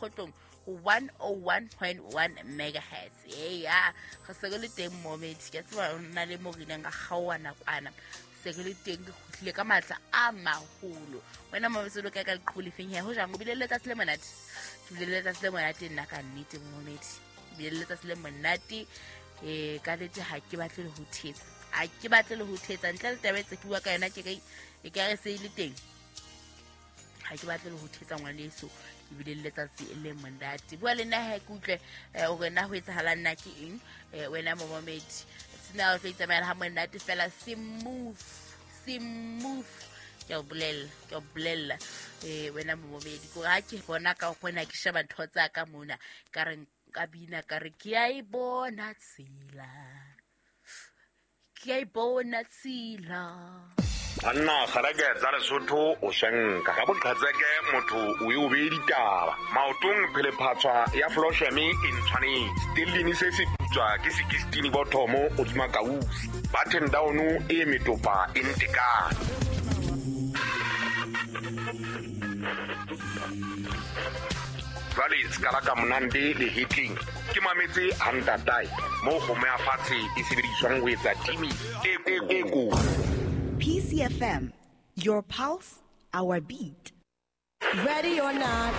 Mokgotlong ho 101.1 megahertz. Eya, re se re le teng momedi, ke a tseba o na le mo re ileng ra kgaoha nakwana, se re le teng, re kgutlile ka matla a maholo. Wena momedi, o lo kae ka leqhubu lefeng he? Ho jang, o bile le letsatsi le monate? Ke bile le letsatsi le monate nna ka nnete momedi, ke bile le letsatsi le monate. Ka nnete ha ke batle le ho thetsa, ha ke batle le ho thetsa ntle le taba e tse ke bua ka yona, ke re e ka re se e le teng. Ha ke batle le ho thetsa ngwaneso, ke bile le letsatsi le monate. Bua le nna he ke utlwe hore na ho etsahalang nna ke eng. Wena momomedi, sena o tlo itsamaela ha monate fela, smooth smooth, ke a o bolella, ke a o bolella. Wena momomedi, kore ha ke bona ka gona ke sheba ntho tsa ka mona, ka re ka bina ka re ke a e bona tsela, ke a e bona tsela. Banna kgaleke tsa Lesotho o shenka ka boqhetseke, motho o e o beye ditaba maotong. Phelephatshwa ya flosheme e ntshwanetse stellini se se putswa ke sekistini bothomo hodima kausi button down e metopa e ntekane. Jwale sekala ka monande le hetleng ke mametse hantatae moo kgomo ya fatshe e sebediswang ho etsa timi e ko. PCFM, your pulse, our beat. Ready or not,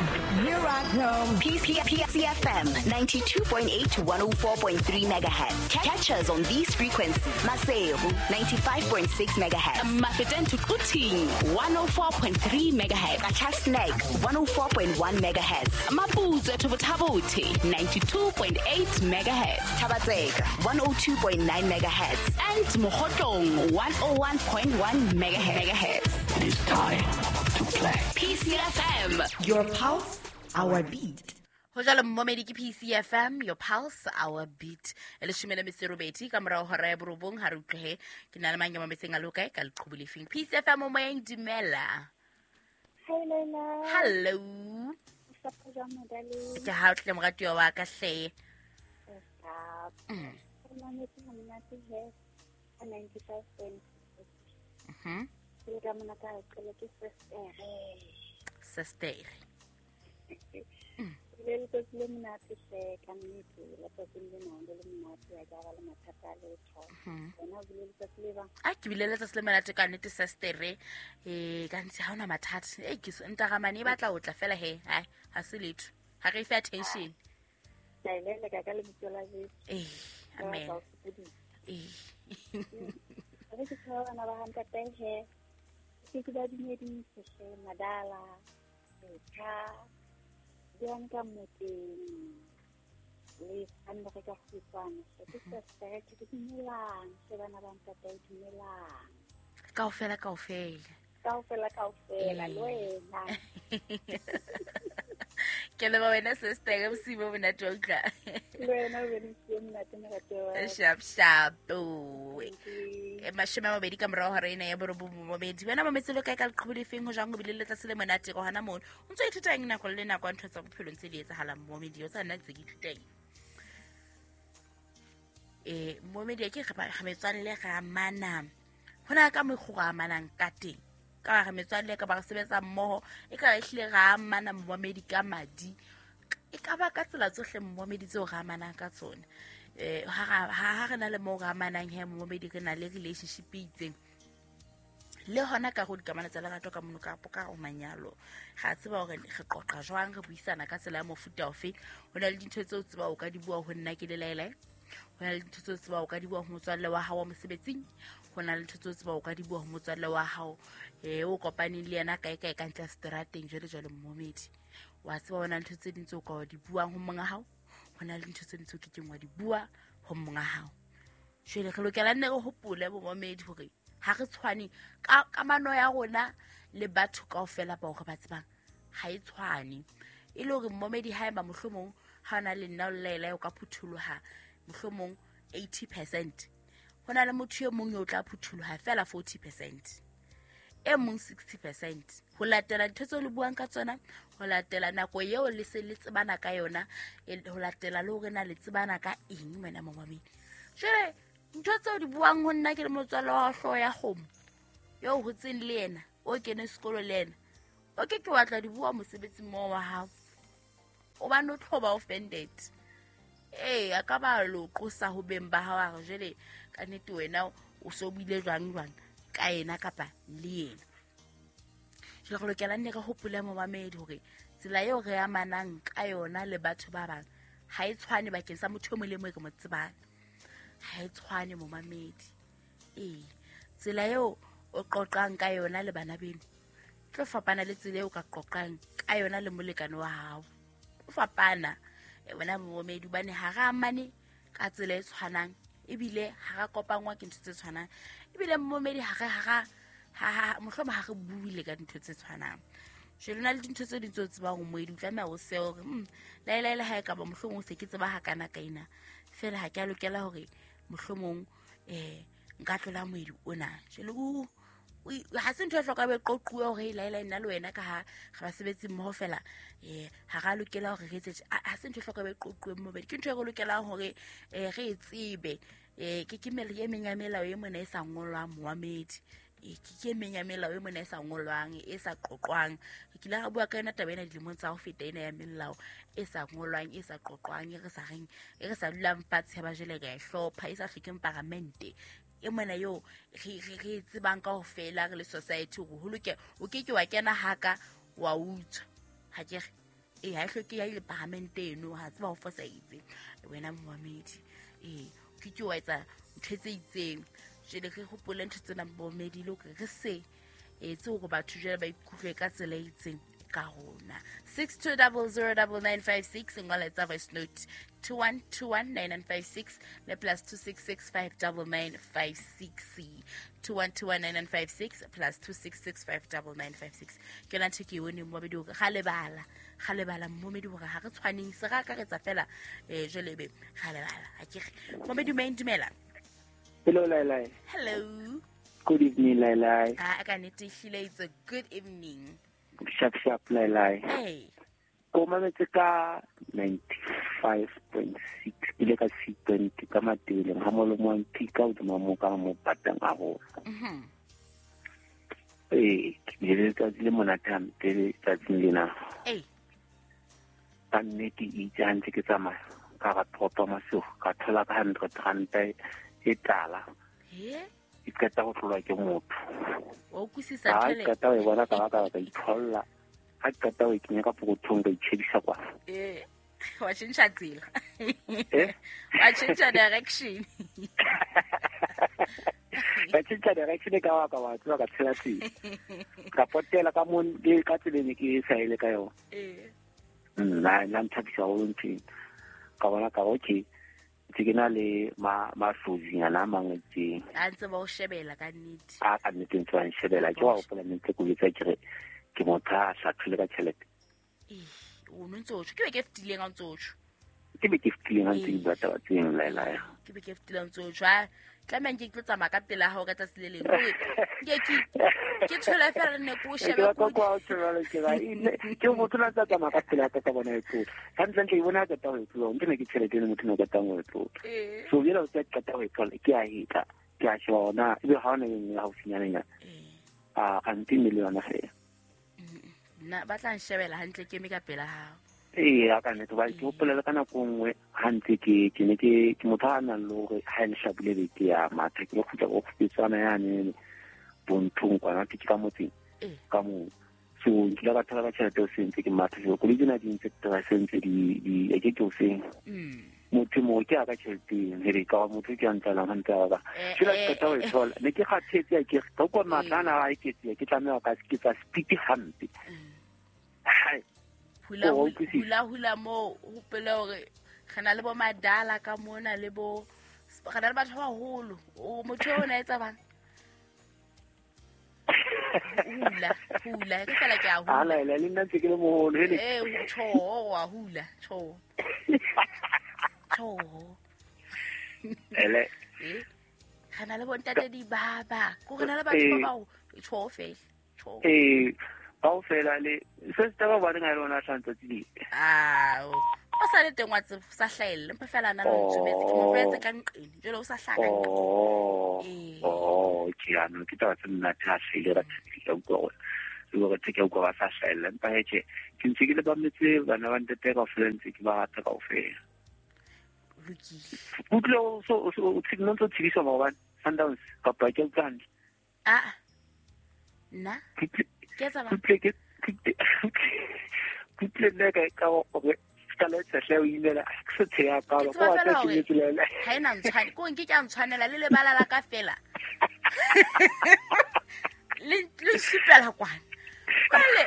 here I come. PCFM 92.8 to 104.3 megahertz. Catch us on these frequencies. Maseru 95.6 megahertz. Mafeteng to Quthing 104.3 megahertz. Qacha's Nek 104.1 megahertz. Maputsoe to Botha-Bothe 92.8 megahertz. Thaba-Tseka 102.9 megahertz. And Mokhotlong 101.1 megahertz. It is time to play. PCFM, your pulse, our beat. Ho jalo mmomedi, ke PCFM, your pulse, our beat. E 18 ka morao hora ya 9. Ha re utlwehe ke na le mang ya mametseng a lokae ka leqhubu lefeng. PCFM o moyeng, dumela. Hi Leila. Hello. Mostafa jwang, madale? Ke ha o tle moratuwa wa ka hle. Stop. Ke mametse ha monate he. Ka 95.6. Ke le ka mona ka qele ke sister. Sister. Le letsatsi le monate hle, ka nnete letsatsing lena le le monate, ha ke a ba le mathata a letho. Wena o bile letsatsi le bang? A ke bile letsatsi le monate ka nnete sister. Ka nnete ha hona mathata. Ke ntaramane e batla ho tla fela he. Hai, ha se letho. Ha re fe attention. Ka e leleka ka lebitso la Jesu. Ka Amen. batla ho sokodisa. Re ke tshwara bana ba ha ntate he. Ke ke ba dumedise hle, Madala, Letha, Bianca Moteng, le Sandra ka kgutshwane hle. Ke sister, ke ke dumelang hle bana ba ntate, dumelang. Kaofela, kaofela. Kaofela, kaofela, le wena. Ke leboha wena sister, ka bosiu bo monate wa utlwa. Le wena o be le bosiu bo monate, moratuwa wa ka. Sharp, sharp. 20 ka morao hora ena ya 9 momedi. Wena mametse lo kae ka leqhubu lefeng, ho jwang, ho bile le letsatsi le monate go hona mono. O ntso ithuta eng nako le nako ntho tsa bophelo ntse di etsahalang momedi, o tsa nna ntse ke ithuta eng? Momedi ke re metswalle re amana. Hona ka mokgwa re amanang ka teng. Ka re metswalle ka ba re sebetsa mmoho, e ka re ehlile re amana momedi ka madi. E ka ba ka tsela tsohle momedi tseo re amanang ka tsona. Ha re na le moo re amanang he momedi, re na le relationship e itseng. Le hona ka go dikamano tsa lerato ka mono kapo ka o manyalo. Ga tseba hore re qoqa jwang, re buisana ka tsela ya mofuta ofe. Ho na le dintho tseo tseba o ka di bua ho nna ke le laelae. Ho na le dintho tseo tseba o ka di bua ho motswalle wa hao wa mosebetsing. Ho na le ntho tseo tseba o ka di bua ho motswalle wa hao, o kopaneng le yena kae kae ka ntle seterateng jwale jwale momedi. Wa tseba ho na le ntho tse ding tseo ka di buang ho monga hao. Ho na le ntho tse ding tseo ke keng wa di bua ho monga hao. Jwale re lokela nne re hopole bo momedi hore ha re tshwane ka kamano ya rona le batho kaofela bao re ba tsebang ha e tshwane. E le hore momedi haeba mohlomong ha ona le nna o laela o ka phutholoha mohlomong 80%. Ho na le motho e mong eo tla phutholoha fela 40%. E mong 60%. Ho latela dintho tseo le buang ka tsona, ho latela nako eo le se le tsebana ka yona, ho latela le hore na le tsebana ka eng wena momamedi. Jwale ntho tseo di buang ho nna ke le motswalle wa hlooho ya kgomo eo hotseng le yena, o kene sekolo le yena, o ke ke wa tla di bua mosebetsing moo wa hao. O ba no tlo ba offended. Ee, a ka ba lo qosa ho beng ba hao a re jwale ka nnete wena o so buile jwang jwang ka yena kapa le yena. Jwale re lokela nne re hopole momamedi hore tsela eo re amanang ka yona le batho ba bang ha e tshwane bakeng sa motho e mong le mong e re mo tsebang. Ha e tshwane momamedi. Ee, tsela eo o qoqang ka yona le bana beno tlo fapana le tsela eo ka qoqang ka yona le molekane wa hao. O fapana wena momamedi hobane ha re amane ka tsela e tshwanang, ebile ha ra kopangwa ke ntho tse tshwanang, ebile momamedi ha re ha mohlomong ha re buile ka dintho tse tshwanang. Jwale na le dintho tse ding tseo tsebang hore moedi o tlameha o sehe hore laelaela ha e ka ba mohlomong se ke tseba hakana ka ena, fela ha ke a lokela hore mohlomong nka tlola moedi ona. Jwale ha se ntho e hlokang e qoquwe hore laela nna le wena ka ha re basebetsi mmoho fela, ha ra lokela hore re etse, ha se ntho e hlokang e qoquwe momamedi, ke ntho e re lokelang hore re e tsebe. Ke e meng ya melao e mona e sa ngolwang momamedi. Ke e meng ya melao e mona e sa ngolwang, e sa qoqwang. Re kile ra bua ka yona taba ena dilemong tsa ho feta, ena ya melao e sa ngolwang, e sa qoqwang, e re sa reng, e re sa dulang fatshe ba jwale re a e hlopha, e sa hlokeng paramente. E mona eo re e tsebang kaofela re le society hore ho loke, o ke ke wa kena haka wa utswa. Ha ke re ha e hloke ya ile paramente eno, ha tseba ho fosahetse wena momamedi. O ke ke wa etsa ntho tse itseng. Jwale re hopole ntho tsena momamedi le hore re se etse hore batho jwale ba ikutlwe ka tsela e itseng ka rona. 62009956 ngola etsa voice note 21219956 le plus 26659956 21219956 plus 26659956. Ke yona ntho ke e boneng momamedi hore ga lebala momamedi hore ha re tshwaneng, se re akaretsa fela jwale ebe ga lebala. Ha ke re momamedi o dumela. Hello Lailai. Hello. Good evening Lailai. Ka nnete ehlile it's a good evening. Sharp sharp Lailai. Hey. Ko mametse ka 95.6 ile ka 6.20 ka Matebeleng ha molomo wa mphika hodima mo ka mo patang haholo. Ee, ke bile le letsatsi le monate hampe letsatsing lena. Ee. Ka nnete itse ha ntse ke tsamaya ka ra toropo masigo ka thola ka 100 ranta e tala. E qeta ho tlolwa ke motho. Wa utlwisisa ntho le. Ha qeta ho e bona ka ba ka itholla. Ha qeta ho e kenya ka pokothong ka itjhebisa kwa. Wa tjhentjha tsela. Wa tjhentjha direction. Ka tjhentjha direction ka wa ka wa tswa ka tshela tsela. Ka potela ka mo ka tseleng ke sa ile ka yona. Nna nthabisa haholo ntho ena. Ka bona ka okay. Ke na le masozinyana a mang itseng. A ntse ba o shebela ka nnete. A ka nnete ntse ba nshebela. Ke wa hopola ntse ke etsa ke re ke motho a hlathile ka tjhelete. O no ntse o tjho. Ke be ke fetileng ha ntse o tjho. Ke be ke fetileng ha ntse ke bua taba tseno Lailai. Ke be ke fetileng ntse o tjho. Tlameha nke ke tlo tsamaya ka pela hao ka tsatsi le leng. Ke thole fela nne ke o shebe ke motho na tsa tsamaya ka pela ka bona e tlola. Hantlentle e bona ka taba e tlola. Ntse ne ke tjhelete eno motho na ka tang o e tlola. So jela o tsa qeta ho e tlola ke a hetla. Ke a sheba ona ebe ha ona e nngwe haufinyana. A kante le yona fela. Nna ba tla nshebela hantle ke eme ka pela hao. Ee, a ka nnete hobane ke hopola le ka nako nngwe ha ntse ke ne ke motho a nang le hore ha e lehlabule be ke ya matha ke lo kgutla ko kgupetswana yane bonthong kwana ke ka motseng ka moo. So nkile ka thola ka tjhelete o sentse ke matha so koloi tsena di ntse se ntse di e ke ke o seng. Motho mo ke a ka tjhelete here ka motho ke a ntlalang hantle ba ka. Jwale ke qeta ho e thola ne ke kgathetse ke ka kwa matla ana a eketseha ke tlameha ka ke tsa speed hampe. Hai. Hula mo hopole hore re na le bo madala ka mona le bo re na le batho ba baholo. O motho o na etsa bang? Hula ke fela ke a hula. Ala le nna ntse ke le moholo hele. Tjho wa hula, tjho. Tjho. Ele. Re na le bo ntate di baba. Ko re na le batho ba bao tjho fela. Tjho. Kaofela le se se taba ba reng a lona hlantsa tsile. Ah, o sa le teng wa tsebo sa hlahelle mpa fela na le ntsumetse ke mo tlwaetse ka nqeng jwale o sa hlaha ka nqeng. Oh, ke ano ke taba tse monate ha hlahile ra thabile ka utlwa gore e hore ke utlwa ba sa hlahella empa he tjhe ke ntse ke le ba metse bana ba ntate kaofela ntse ke ba rata kaofela. Lokile. Utlwe o so o ntse o tshediswa maobane Sundowns kapa ke utlwa hantle? Ah. Nna ke etsa ba Kutle nna ka gore ka le tshehle o imela ke se tsheya ka Ke go tseba wa fela tla ke hore metselela ha ena ntshwane ko nke ke a ntshwanela le lebala la ka fela le le supela kwana jwale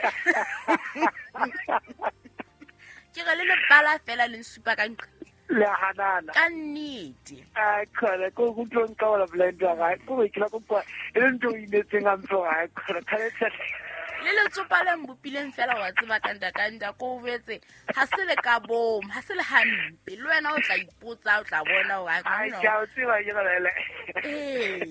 ke re le lebala fela le nsupa ka nqa le a hanana ka nnete a khona ko go tlo nka wala blind wa gae ko ke la ko kwa e le ntho o imetseng a ntse ga khona ka le tshehle le letsopa le mbopileng fela wa tseba ka nta ko o betse ha se le ka bom ha se le hampe le wena o tla ipotsa o tla bona hore ai ke a o tseba ke ga le ee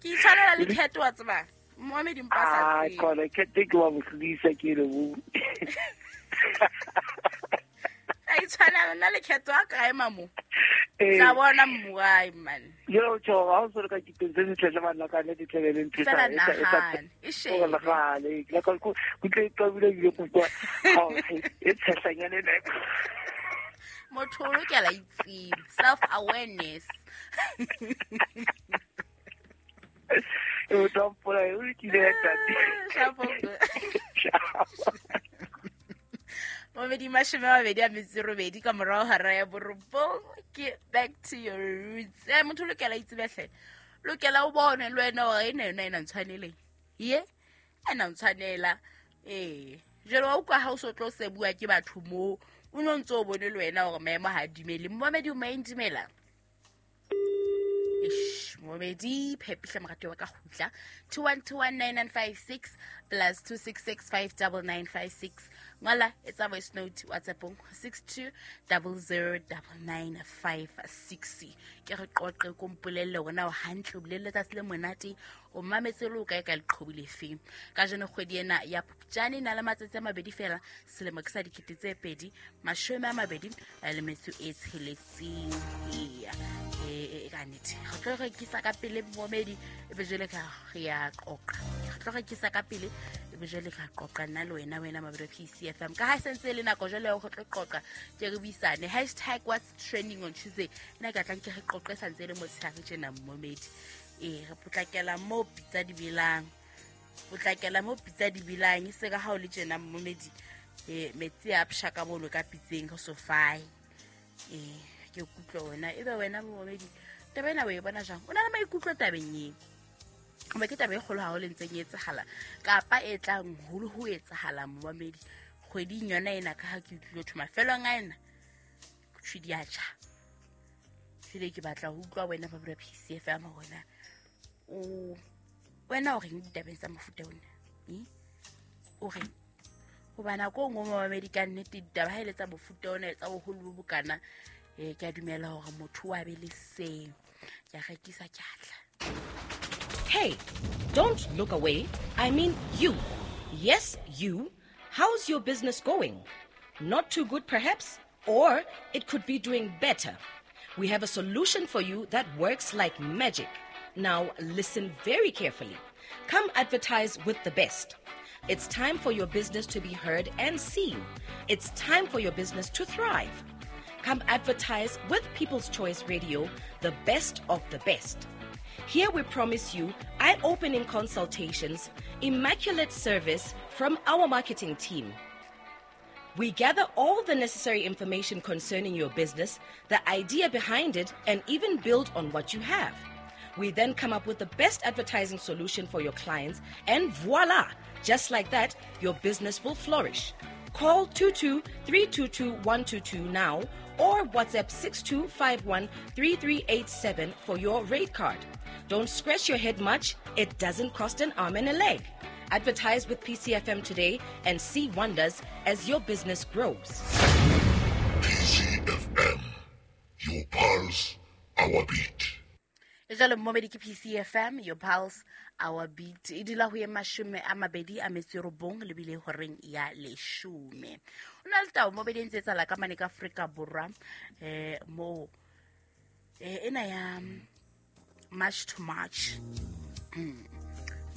ke itshwanela le khetho wa tseba moamedi mpa sa a tsebe khona ke te ke wa mohlodisa ke le bo a itshwanela nna le khetho a kae mamo eh tla bona mmuai man yo tjho ha o se ka kiteng se setle bana ka ne ditlebe le ntho fela nahane e o shebe le gale la ka go tle ka bile bile go kwa ha e tshehlanyane le motho o lokela itsebe self awareness o tla mpola o kile ya tate Shapo. Momedi 28 ka morao hara ya borobong ke back to your roots. Motho o lokela itsebehle lokela o bone le wena hore ena yona ena ntshwaneleng ye ena ntshwanela ee jwale wa utlwa ha o so tlo sebuwa ke batho moo o no ntse o bone le wena hore maemo ha a dumele momedi o maendimela Eish, momedi phepihle morati wa ka kgutla 21219956 plus 26659956 ngola etsa voice note whatsappong 62009956 ke re qoqe ko mpolelle hore na o hantle o bile le letsatsi le monate o mametse le o kae ka leqhobu lefeng ka jeno kgwedi ena ya Phupjane e na le matsatsi a mabedi fela selemo ke sa 2026 eya e ka nnete re tlo rekisa ka pele momedi e be jwale ka re ya qoqa re tlo rekisa ka pele e be jwale ka qoqa nna le wena wena mabedi wa PCFM ka ha e sentse e le nako jwale ya hore re tlo qoqa ke re buisane hashtag what's trending on Tuesday nna ke tlang ke re qoqe santse e le motshehare tjena momedi ee re potlakela mo pitsa di belang potlakela mo pitsa di belang e se ka ha o le tjena momedi metsi a psha ka bolo ka pitseng re so fae ee ke kutlwa wena ebe wena momedi taba ena o e bona jang o na le maikutlo tabeng eo hoba ke taba e kgolo haholo e ntseng e etsahala kapa e tlang holo ho etsahala momamedi kgweding yona ena ka ha ke utlwile thwe mafelong a ena thwe di a tjha jwale ke batla ho utlwa wena ba bua PCFM hore o wena o reng ditabeng tsa mofuta ona o reng hoba nako e nngwe momamedi ka nnete ditaba ha e le tsa mofuta ona tsa boholo bo bokana ke a dumela hore motho wa be le seo ke a rekisa ke a tla. Hey, don't look away. I mean you. Yes, you. How's your business going? Not too good, perhaps? Or it could be doing better. We have a solution for you that works like magic. Now, listen very carefully. Come advertise with the best. It's time for your business to be heard and seen. It's time for your business to thrive. Come advertise with People's Choice Radio, the best of the best. Here we promise you eye-opening consultations, immaculate service from our marketing team. We gather all the necessary information concerning your business, the idea behind it, and even build on what you have. We then come up with the best advertising solution for your clients, and voila! Just like that, your business will flourish. Call 22-322-122 now or WhatsApp 6251-3387 for your rate card. Don't scratch your head much. It doesn't cost an arm and a leg. Advertise with PCFM today and see wonders as your business grows. PCFM, your pulse, our beat. Jwale momedi ke PCFM, your pulse, our beat. E dula ho ye 29 lebile horeng ya 10. O na le tao momedi e ntse etsahala ka mane ka Afrika Borwa mo ena ya March to March.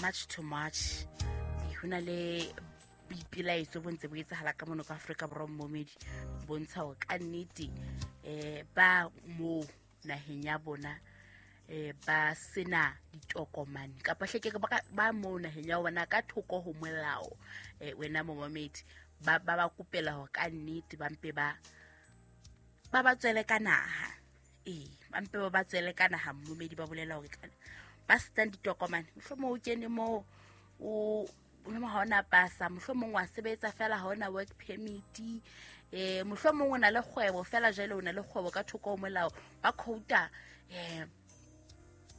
March to March. Ho na le boipelaetso bo ntse bo etsahala ka mono ka Afrika Borwa momedi, bontsha hore ka nnete ba mo naheng ya bona ba sena ditokomane kapa hleke ba mo naheng ya bona ka thoko ho molao. Wena momedi ba ba kopela hore ka nnete ba mpe ba ba tswele ka naha. Ba mpe ba tswele ka naha momedi, ba bolela hore ba senang ditokomane mohlomong o kene moo o ha ona pasa, mohlomong wa sebetsa fela ha ona work permit, mohlomong o na le kgwebo fela jwale o na le kgwebo ka thoko ho molao, ba quota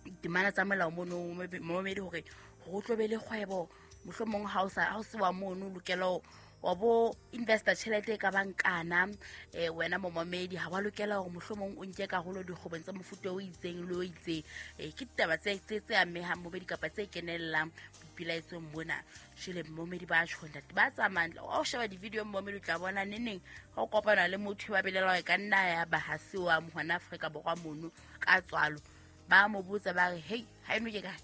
ditemana tsa molao mono momedi hore ho tlo be le kgwebo. Mohlomong ha o se wa mono o lokela wa bo investor tjhelete e ka bang kana, wena momamedi ha wa lokela hore mohlomong o nke karolo dikgwebong tsa mofuta o itseng le o itseng. Ke ditaba tse amehang momedi kapa tse kenellang boipelaetsong mona. Jwale momedi ba tjho ntate ba tsamayang o sheba di-video momedi o tla bona neneng ha o kopana le motho ba belela hore ka nna ya ba ha se wa hona Afrika Borwa mono ka tswalo, ba mo botsa ba re hey ha eno ke kae,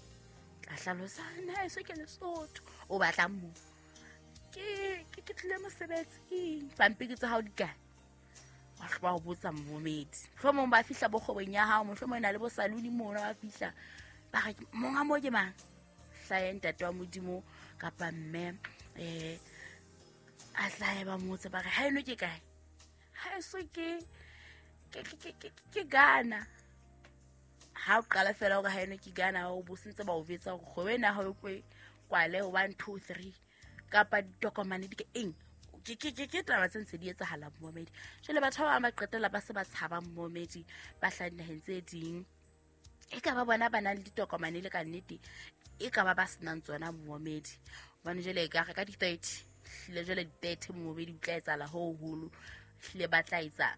tla hlalosa nna eso ke Lesotho, o batlang mo ke tlile mosebetsing, pampiri tsa hao di kae? Wa hloba ho botsa momedi. Mohlomong ba fihla bo kgwebong ya hao, mohlomong e na le bo saluni mono, ba fihla ba re monga mo ke mang, hlahe ntate wa Modimo kapa mme, a hlahe ba motse ba re ha eno ke kae, ha eso ke Ghana. Ha o qala fela hore ha eno ke Ghana, o bo sentse ba o betsa hore kgwebo ena ha o kwe kwale 1 2 3 kapa ditokomane di ke eng. Ke taba tse ntse di etsahala momedi. Jwale batho ba bang ba qetella ba se ba tshaba momedi, ba hlaha dinaheng tse ding, e ka ba bona ba nang le ditokomane le ka nnete, e ka ba ba senang tsona momedi. Hobane jwale e ka re ka di-30 hlile jwale di-30 momedi o tla etsahala ho hoholo, hlile ba tla etsa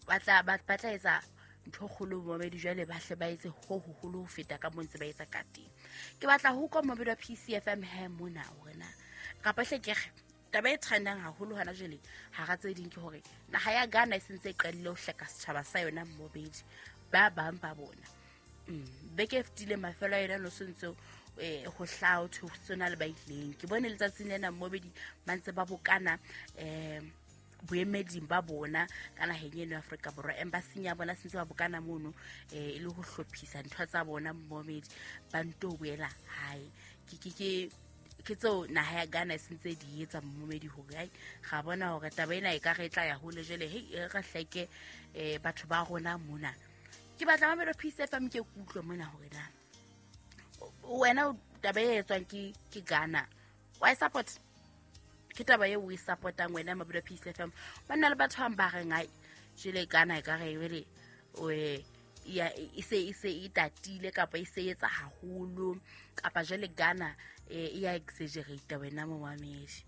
ba tla etsa ntho kgolo momedi, jwale ba hle ba etse ho hoholo ho feta ka moo ntse ba etsa ka teng. Ke batla ho utlwa momedi wa PCFM he mona hore na kapa hle ke re taba e trendang haholo hona jwale hara tse ding ke hore naha ya Ghana e sentse e qadile ho hleka setjhaba sa yona momedi, ba bang ba bona. Beke e fetileng mafelo a yona no sentse ho hlaha ho thwe ho sona le ba ileng. Ke bone letsatsing lena momedi ba ntse ba bokana boemeding ba bona ka naheng eno ya Afrika Borwa, embassy ya bona sentse ba bokana mono e le ho hlophisa ntho tsa bona momedi, ba nto boela hae. Ke tseo naha ya Ghana e sentse di etsa momedi hore ai ga bona hore taba ena e ka re tla ya hole jwale, hei re hleke batho ba rona mona. Ke batla mamelo Peace FM ke kutlwe mona hore na wena taba e etswang ke Ghana wa e support, ke taba eo o e support-ang wena Mabelo Peace FM. Ba nna le batho ba reng ai jwale Ghana e ka re jwale e se e tatile kapa e se etsa haholo, kapa jwale Ghana e ya exaggerate wena momamedi,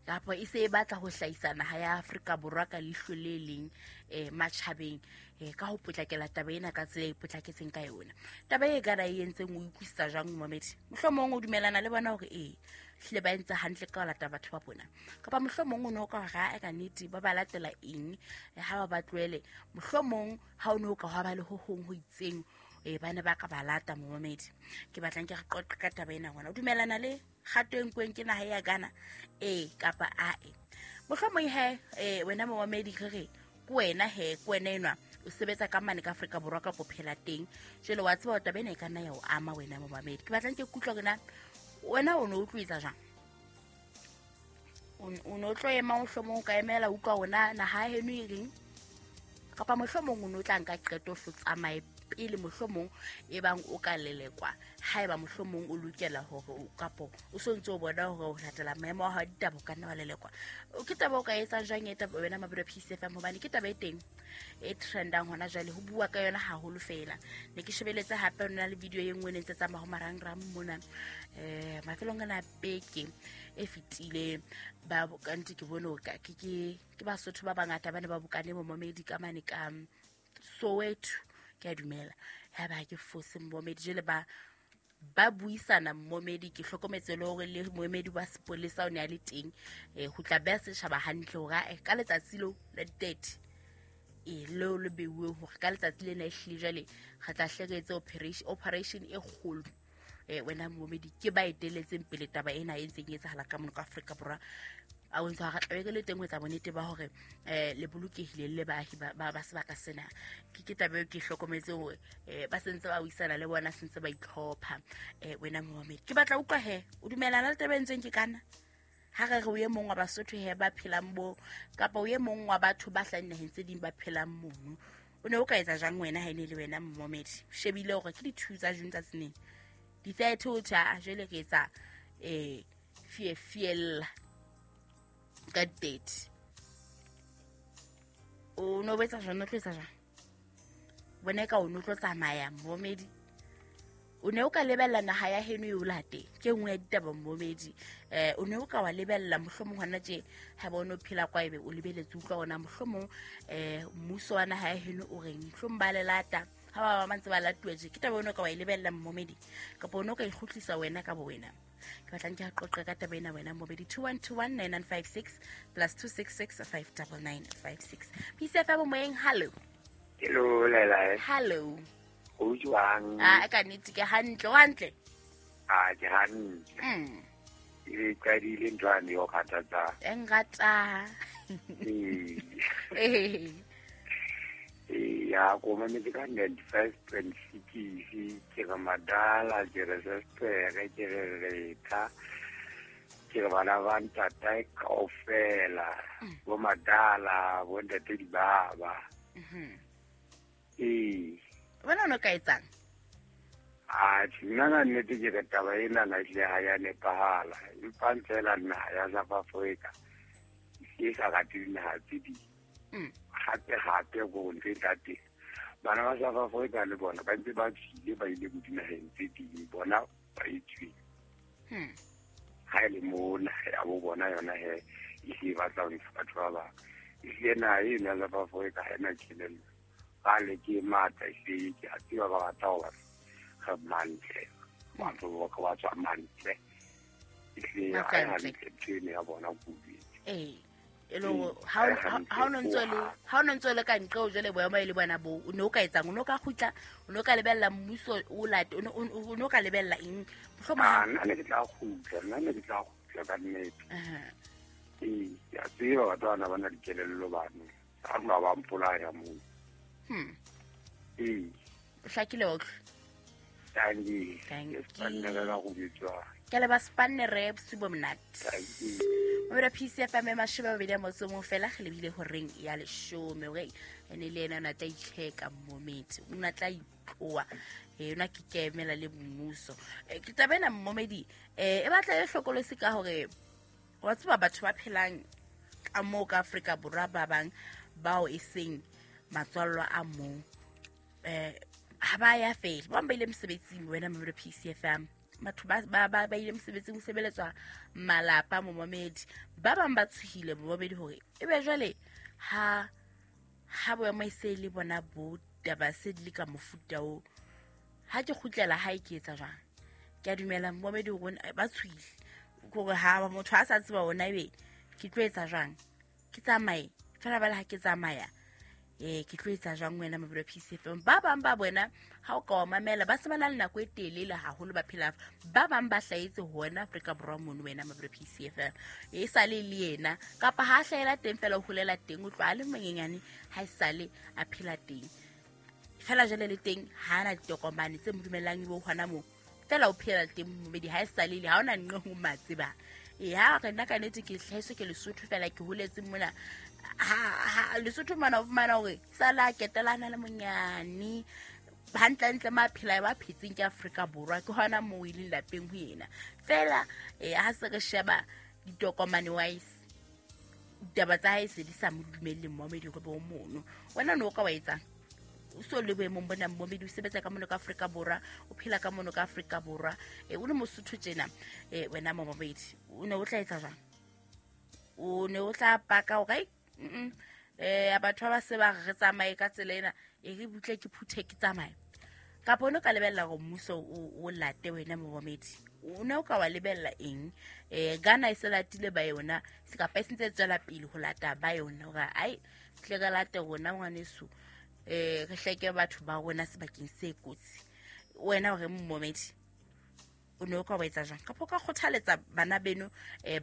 kapa e se e batla ho hlahisa naha ya Afrika Borwa ka leihlo le leng matjhabeng ka ho potlakela taba ena ka tsela e potlaketseng ka yona. Taba e Ghana e entseng o utlwisisa jwang momedi? Mohlomong o dumelana le bona hore hlile ba entse hantle ka ho lata batho ba bona, kapa mohlomong o ne o ka hore a ka nnete ba ba latela eng ha ba ba tlohele, mohlomong ha o ne o ka hwa ba le ho hong ho itseng ba ne ba ka ba lata momedi. Ke batlang ke re qoqe ka taba ena hona o dumelana le kgato e nkuweng ke naha ya Ghana kapa ae. Mohlomong he wena momedi re re ke wena he ke wena enwa o sebetsa ka mane ka Afrika Borwa kapa o phela teng, jwale wa tseba taba ena e ka nna ya o ama wena momamedi. Ke batlang ke kutlwa hore na wena o ne o utlwisa jang, o ne o tlo ema mohlomong o ka emela utlwa hore naha ya heno e reng, kapa mohlomong o ne o tla nka qeto o tsamaye pele mohlomong e bang o ka lelekwa, haeba mohlomong o lokela hore o kapo o sontse o bona hore o latela maemo a hao ditaba o ka nna wa lelekwa. Ke taba o ka etsang jwang e taba wena Mabelo Peace FM, hobane ke taba e teng e trendang hona jwale, ho bua ka yona haholo fela. Ne ke shebeletse hape nna le video e nngwe ne ntse tsamaya ho marangrang mona mafelong ana beke e fetileng, ba kante ke bone hore ke Basotho ba bangata ba ne ba bokane momamedi ka mane ka Soweto, ke a dumela ya ba ke fose momedi jwale ba buisana momedi. Ke hlokometse le hore le moemedi wa sepolesa o ne a le teng ho tla beha setjhaba hantle hore ka letsatsi leo la di-30 leo le beuweng hore ka letsatsi lena e hlile jwale re tla hle re etse operation e kgolo Wena momedi ke ba eteletseng pele taba ena e ntseng e etsahala ka mono ka Afrika Borwa. A bontsha ga tlabe ke le teng ho etsa bonnete ba hore le bolokehile le baahi ba sebaka sena. Ke taba eo ke hlokometse hore ba sentse ba buisana le bona, sentse ba itlhopha. Wena momedi ke batla utlwa he o dumelana le taba e ntseng ke kana ha re re o ye mong wa Basotho he ba phelang bo kapa o ye mong wa batho ba hlahang naheng tse ding ba phelang mono, o ne o ka etsa jang wena ha ene le wena momedi? O shebile hore ke di-2 tsa June tsa tseneng di-30 o tjha jwale re etsa fiefiella ka 30. O no etsa jang, o tlo etsa jang? Bona ka o no tlo tsamaya momedi, o ne o ka lebella naha ya heno e o late ke nngwe ya ditaba momedi. O ne o ka wa lebella mohlomong hona tje ha ba o no phela kwa ebe o lebeletse utlwa ona mohlomong mmuso wa naha ya heno o reng, mohlomong ba le lata ha ba ba ntse ba latuwa tje. Ke taba o ne o ka wa e lebella momedi kapa o ne o ka ikgutlisa wena ka bo wena? Ke batlang ke qoqe ka taba ena wena momedi. 21219956 plus 266 59956. PCFM moyeng, hello. Hello Lela. Hello. O jwang? A ka nnete ke hantle, o hantle? A ke hantle. E qadile ntho ane yo kgathatsa. E ngata. Ee. Ya ko mametse ka 95.6 ke re madala, ke re sestere, ke re retha, ke re bana ba ntatae kaofela, bo madala, bo ntate dibaba. Ee. Wena o no ka etsang? Atjhe, nna ka nnete ke re taba ena na ehlile ha ya nepahala. Empa feela naha ya South Africa e sa rate dinaha tse ding. Hape hape ko ntho e tla teng. Bana ba South Africa le bona ba ntse ba tswile ba ile bo dinaheng tse ding, bona ba e tswile. Ha e le mo naha ya bo bona yona he e hlile e batla ho ntsha batho ba bang. Ehlile naha eno ya South Africa ha ena kelello. Ba le ke matla ehlile ke a tseba ba rata ho batla re mantle. Batho ba tswa mantle. Ehlile ha e hantle ntho eno ya bona kudu. Ee. E le hore ha o no ntso le ka nqe o jwale boemo e le bona bo, o ne o ka etsang? O ne o ka kgutla, o ne o ka lebella mmuso o late, o ne o ka lebella eng? Mohlomong nna ne ke tla kgutla, nna ne ke tla kgutla ka nnete. Ee, ke a tseba batho bana ba na dikelello bano. Ha tloha ba mpolaya moo. Ee. O hlakile wa utlwa? Thank you. Thank you. Ke le ba spannere bosiu bo monate. Mobedi PCFM 23 fela re lebile horeng ya 10 hore ene le ena o na tla itlheka momedi, o na tla itloa, o na ke kemela le mmuso. Ke taba ena momedi e batla e hlokolosi ka hore wa tseba batho ba phelang ka moo ka Afrika Borwa ba bang bao e seng matswallwa a moo ha ba ya fela, ba bang ba ile mosebetsing wena mobedi PCFM. Batho ba ile mosebetsing ho sebeletswa malapa momamedi. Ba bang ba tshohile momamedi hore ebe jwale ha boemo e se le bona bo taba se di le ka mofuta o, ha ke kgutlela hae ke etsa jwang? Ke a dumela momamedi hore ba tshohile hore ha motho a sa tseba ona ebe ke tlo etsa jwang, ke tsamaye fela bala ha ke tsamaya ke tlo etsa jwang wena mobedi PCFM. Ba bang ba bona ha o ka wa mamela ba se ba na le nako e telele haholo ba phela, ba bang ba hlahetse hona Afrika Borwa mono wena mobedi PCFM e sale le yena kapa ha hlahela teng fela o holela teng, o tloha le monyenyane ha e sale a phela teng fela jwale le teng ha ana ditokomane tse mo dumellang ebe o hona moo fela o phela teng momedi ha e sale le ha ona nqe ho matseba. Ha re nna ka nnete ke hlahiswe ke Lesotho fela ke holetse mona. Ha Lesotho mana o fumana hore sala ketelana le monyane hantlentle maphela ba phetseng ke Afrika Borwa ke hona moo e leng lapeng ho yena fela. Ha se re sheba ditokomane wise ditaba tsa hae se di sa mo dumelle momedi hore bo mono. Wena no ka wa etsang? O so le boemong bona momedi, o sebetsa ka mono ka Afrika Borwa, o phela ka mono ka Afrika Borwa, o le Mosotho tjena, wena momedi o ne o tla etsa jwang? O ne o tla paka hore batho ba se ba re tsamaye ka tsela ena e re butle ke phuthe ke tsamaye, kapa o ne o ka lebella hore mmuso o late wena momedi? O ne o ka wa lebella eng? Ghana e se latile ba yona, se kapa e sentse e tswela pele ho lata ba yona hore ai tle re late rona ngwaneso, re hleke batho ba rona sebakeng se kotsi. Wena hore momedi? O ne o ka wa etsa jang kapa o ka kgothaletsa bana beno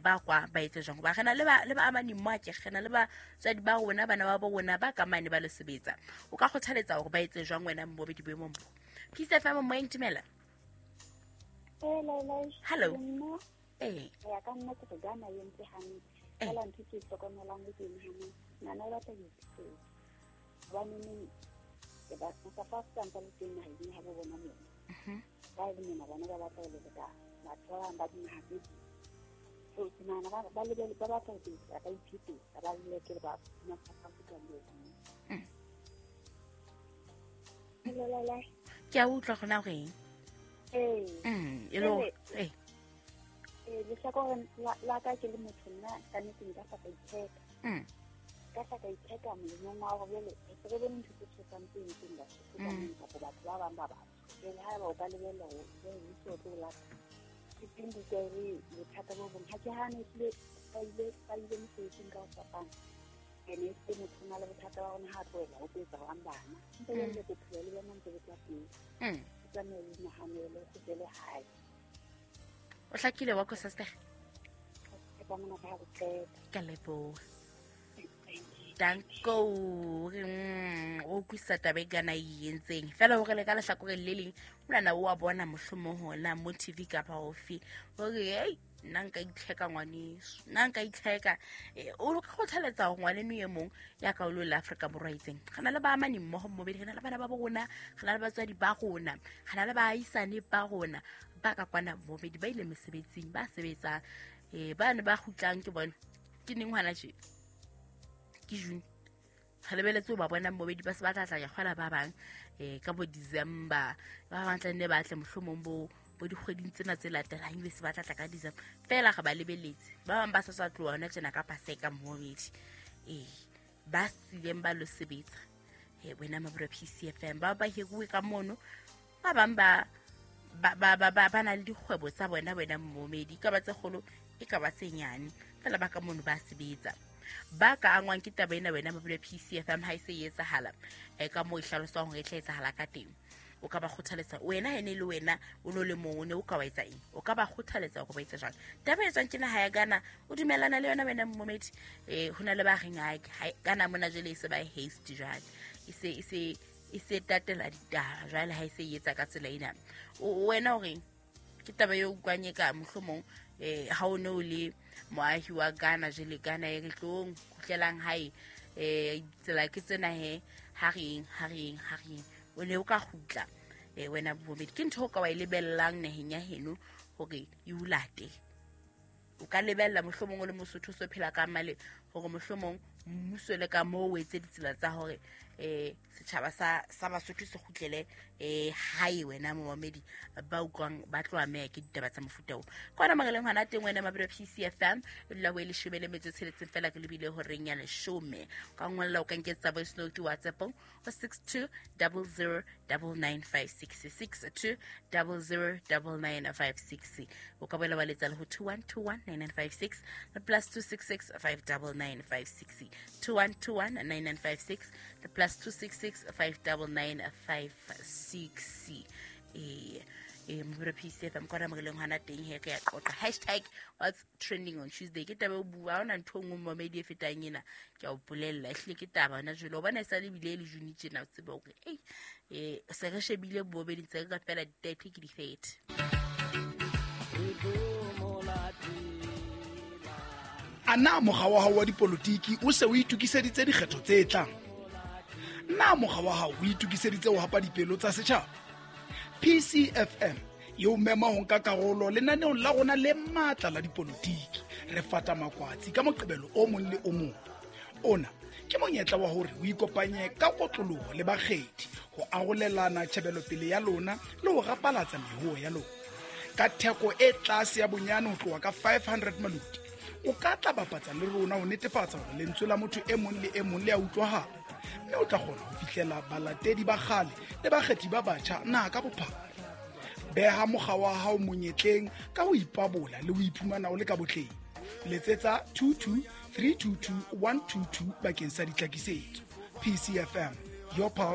ba kwa ba etse jang? Hoba re na le ba amane mo ake, re na le batswadi ba rona, bana ba bo rona ba ka mane ba lo sebetsa. O ka kgothaletsa hore ba etse jang wena mmobedi boemong bo? Peace FM, moyeng, dumela. Hello. Ya ka nna ke re Ghana e entse hantle. Fela ntho ke e hlokomelang le teng hane, ngwana o batla ho iphetetsa. Hobaneneng ke ba South Africa ntse le teng naheng ya habo bona mona. Ba e le mona bona ba batla ho leleka batho ba bang ba dinaha tse ding. So ke nahana ba ba batla ho ba iphetetsa, ba leleke le ba South Africa moo. Hello, Laila. Ke a utlwa gona gore eng? Ee. E le hore ee. Lehlakoreng la ka ke le motho nna ka nnete nka hla ka itheka. Ka hla ka itheka molemong wa hore jwale re se re bone ntho tse tshosang tse entsweng Basotho ka mona kapa batho ba bang ba batsho. Jwale haeba o ka lebella hore jwale mmuso o tlo o lata, ke teng ke utlwa e le bothata bo bong. Ha ke hane ehlile ba ile mosebetsing ka ho fapana. Ene ehlile motho o na le bothata ba rona ha a tlohela ho tlo etsa jwang bana. Ntse jwale bophelo le bona ntse bo tswa pele. O tsamaye o inahanele, o kgutlele hae. O hlakile wa ko sister? Ke tla mona ka ho qeta. Ka leboha. Danko, o utlwisisa taba e Ghana e entseng. Fela hore le ka lehlakoreng le leng, monana o wa bona mohlomong hona mo TV kapa ofe. Hore hey, nna nka itlheka ngwaneso, nna nka itlheka. O kgothaletsa hore ngwaneno e mong ya ka o lo le Afrika Borwa itseng. Re na le baamani mmoho mmobedi, re na le bana ba bo rona, re na le batswadi ba rona, re na le baahisane ba rona ba ka kwana mmobedi, ba ile mesebetsing, ba sebetsang. Ba ne ba kgutlang ke bona. Ke neng hona tje? Ke June. Re lebeletse ho ba bona mmobedi, ba se ba tla tla ya kgwela ba bang ka bo December. Ba bang tla nne ba tle mohlomong bo dikgweding tsena tse latelang, ebe se ba tla tla ka December. Fela re ba lebeletse. Ba bang ba sa tswa tloha hona tjena ka Paseka mmobedi. Ba sileng ba lo sebetsa. Wena Mabura PCFM, ba hiruwe ka mono. Ba bang ba na le dikgwebo tsa bona wena mmomedi, e ka ba tse kgolo, e ka ba tse nyane. Fela ba ka mono ba sebetsa. Ba ka angwang ke taba ena wena Mabura PCFM ha e se e etsahala, ka moo e hlaloswang hore e tla etsahala ka teng. O ka ba kgothaletsa wena ene le wena o no le mong, o ne o ka wa etsa eng? O ka ba kgothaletsa hore ba etse jwang? Taba e tswang ke naha ya Ghana, o dumellana le yona wena mmomedi? Ho na le ba reng ha Ghana mona jwale e se ba haste jwale. E se tatela ditaba jwale ha e se e etsa ka tsela ena. Wena o reng? Ke taba eo utlwang e ka mohlomong ha o ne o le moahi wa Ghana jwale Ghana e re tlong kgutlelang hae, tsela ke tsena he, ha re eng. O ne o ka kgutla wena bomedi. Ke ntho o ka wa e lebellang naheng ya heno hore e o late. O ka lebella mohlomong o le Mosotho o so phela ka male hore mohlomong mmuso le ka moo o etse ditsela tsa hore setjhaba sa Basotho se kgutlele hae wena momamedi ba utlwang ba tlo ameha ke ditaba tsa mofuta oo. Ke hona mo re leng hona teng wena Mabura PCFM, e dula ho e 16 fela ke lebile horeng ya 10. O ka ngolla, o ka nketsa voice note WhatsApp ho 6200 9956, 6200 9956. O ka boela wa letsa le ho 2121 9956 le +266 59956, 2121 9956 le +266 59956. Mabura PCFM kwana mo re leng hona teng he, re ya qoqa. Hashtag what's trending on Tuesday. Ke taba e bua, ha hona ntho e nngwe momedi e fetang ena. Ke a o bolella, ehlile ke taba hona jwale. O bona e sa le bile e le June tjena, o tsebe hore, se re shebile bobedi ntse re ka fela di-30 ke di-30. A na mokga wa hao wa dipolotiki o se o itokiseditse dikgetho tse tlang? Na mokga wa hao o itokiseditse ho hapa dipelo tsa setjhaba? PCFM e o mema ho nka karolo lenaneong la rona le matla la dipolotiki. Re fata makwatsi ka Moqebelo o mong le o mong. Ona ke monyetla wa hore o ikopanye ka kotloloho le bakgethi ho arolelana tjhebelopele ya lona le ho rapalatsa mehoho ya lona. Ka theko e tlase ya bonyane ho tloha ka 500 maloti, o ka tla bapatsa le rona ho netefatsa hore lentswe la motho e mong le e mong le a utlwahala, mme o tla kgona ho fihlela balatedi ba kgale le bakgethi ba batjha naha ka bophara. Beha mokga wa hao monyetleng ka ho ipabola le ho iphumana o le ka botleng. Letsetsa 22 322 122 bakeng sa ditlhakisetso. PCFM, your pulse.